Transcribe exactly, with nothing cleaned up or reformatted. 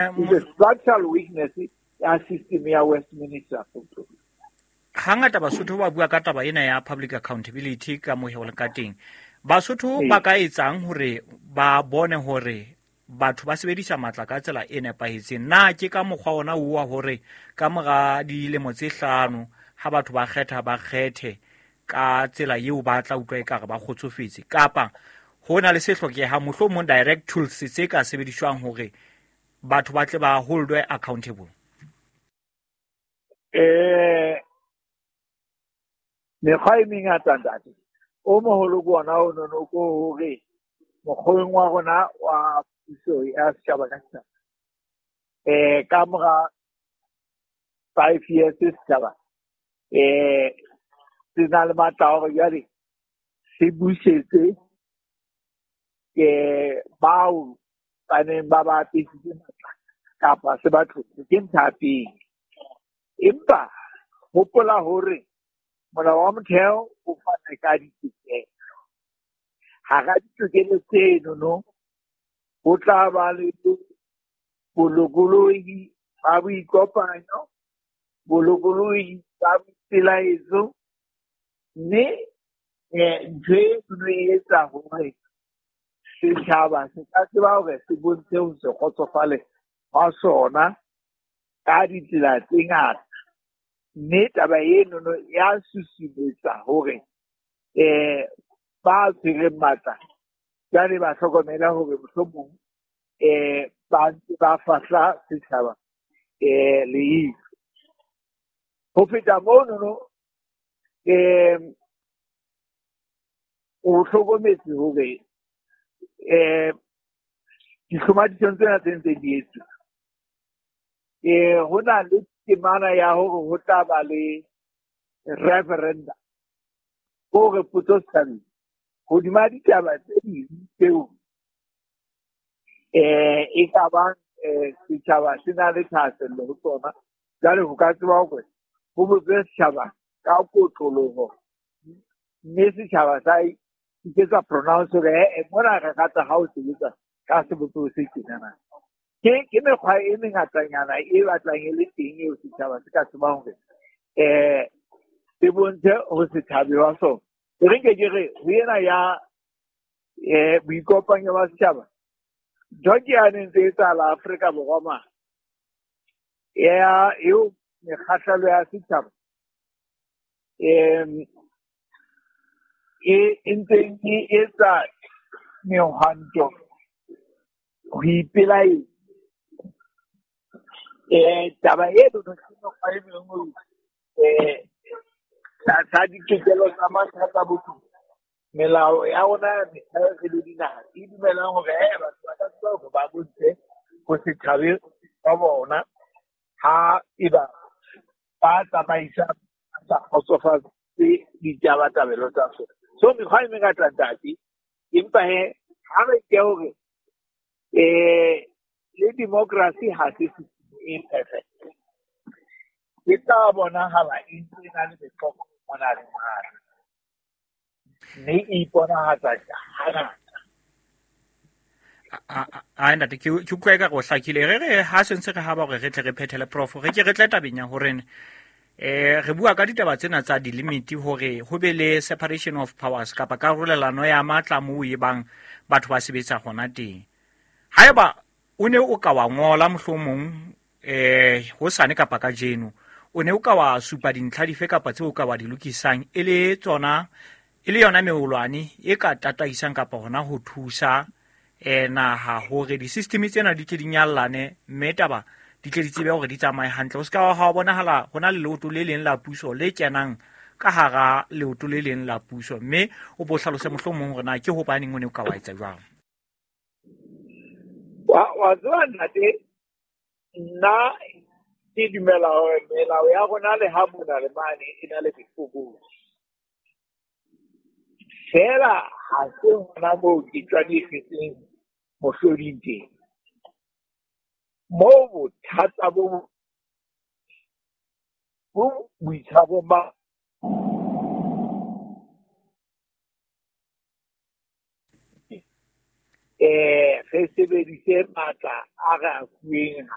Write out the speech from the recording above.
It's a structural weakness ya system ya Westminster. Hangata Basotho ba bua ka taba ena ya public accountability ka mohelo ka teng. Basotho ba ka etsang hore ba bone hore batho ba sebedisa matla ka tsela e nepahetseng? Na ke ka mokgwa ona wa hore ka mora dilemo tse hlano ha batho ba kgetha ba kgethe ka tsela eo ba tla utlwa ekare ba kgotsofetse, kapa ho na le se hlokehang mohlomong direct tools tse ka sebediswang hore batho ba tle ba holdwe accountable? Eh mekgwa e mengata ntate. O moholo ke ona o nono ko hore mokgweng wa rona wa puso ya setjhaba ka setjhaba, eh ka mora five years setjhaba eh se na le matla a hore jwale se busetse eh bao ba neng ba ba apesitse matla kapa se ba tlotse. Ke ntho ya pele. Empa hopola hore molao wa motheo o fana ka ditokelo. Hara ditokelo tseno no ho tla ba le bolokolohi ba boikopanyo, bolokolohi ba boipelaetso, mme ntho eno e etsa hore setjhaba se ka tseba hore se bontshe ho se kgotsofale hwa sona ka ditsela tse ngata. Mme taba eno no ya susumetsa hore eh ba tshwereng matla jwale ba hlokomela hore mohlomong eh ba ntse ba fahla setjhaba eh leihlo. Ho feta mono no eh o hlokometse hore eh dihlomathisong tsena tse ntseng di etswa eh ho na le temana ya hore ho tla ba le referendum hore potso setjhabeng hodima ditaba tse ding tseo eh e ka bang eh setjhaba se na le thahasello ho tsona. Jwale ho ka tseba hore ho botswe setjhaba ka kotloloho, mme setjhaba sa iketsa pronounce hore eh mona re rata ha o sebetsa ka sebopeho se tjenana. Ke ke mekgwa e mengatanyana e batlang e le teng eo setjhaba se ka tsebang hore eh se bontshe ho se thabe wa sona. E re nke ke re ho ena ya eh boikopanyo ba setjhaba, ntho ke yane ntse e etsahala Afrika Borwa mane ya eo mekgahlelo ya setjhaba em e e ntseng e etsa mehwanto ho ipelaetsa. Eh taba eno ke mekgwa e mengwe eh tlasa ditokelo tsa mathata botho. Melao ya rona ya metheo re le dinaha e dumelang hore eh batho ba ka tseba hore ba bontshe ho se thabe ba bona ha eba ba tsamaisa sa kgotsofatse ditabatabelo tsa sona. So mekgwa e mengata ntate, empa he ha re ke hore eh le democracy ha se system e perfect. E tla bonahala e ntse e na le meqoqo mona le mane, mme e iponahatsa hangata. A ntate ke ke utlwa ekare o hlakile. Re re ha se ntse re haba hore re tle re phethele prof, re ke re tle tabeng ya hore eh re bua ka ditaba tsena tsa di-limit hore ho be le separation of powers kapa karolelano ya matla moo e bang batho ba sebetsa hona teng. Haeba o ne o ka wa ngola mohlomong eh hosane kapa kajeno, o ne o ka wa supa dintlha dife kapa tseo o ka wa di lokisang e le tsona e le yona meolwane e ka tataisang kapa hona ho thusa eh naha hore di-system tsena di tle di nyallane, mme taba di tle di tsebe hore di tsamaye hantle. Ho se ka ha bonahala ho na le leoto le leng la puso le kenang ka hara leoto le leng la puso, mme o bo hlalose mohlomong hore na ke hobaneng o ne o ka wa etsa jwang. Wa wa tseba ntate, nna ke dumela hore melao ya rona le ha mona le mane e na le mefokolo. Feela ha se hona moo ke tswadisitseng mohloding teng. Moo bothata bo bo boitshwarong ba Eh re sebedise matla a re a fuweng.